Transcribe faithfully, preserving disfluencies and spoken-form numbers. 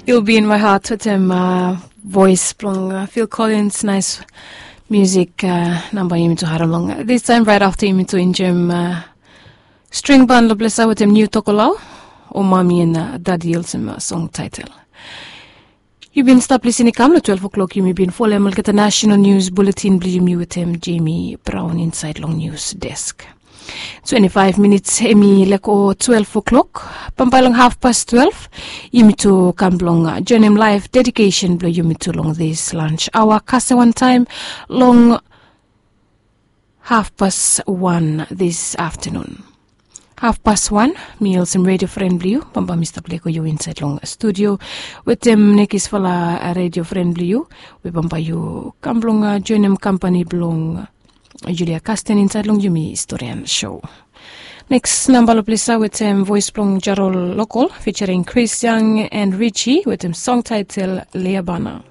You'll be in my heart wetem voice blong Phil Collins, nice music. Namba yumi tu harem long this time right after yumi tu enjoyim string band lo plesa wetem new tokolau o mami and dadi olsem song title. Yu bin stap lisin i kam lo twelve o'clock yumi bin folem olgeta national news bulletin blong yumi wetem Jamie Brown inside long news desk. Twenty-five minutes em i leko twelve o'clock. Bambae long half past twelve yumi tu kam blong joinim live dedication blong yumi tu long this lunch hour kase wan taem long half past one this afternoon. Half past one, mi olsem radio friend blong yu bambae mi stap leko yu inside long studio wetem nekisfala radio friend blong yu we bambae yu kam blong joinim kampani blong Julia Kasten inside long yumi historian show. Next namba lo plesa wetem voice blong Jarol Local featuring Chris Young and Richie wetem song title Leabana.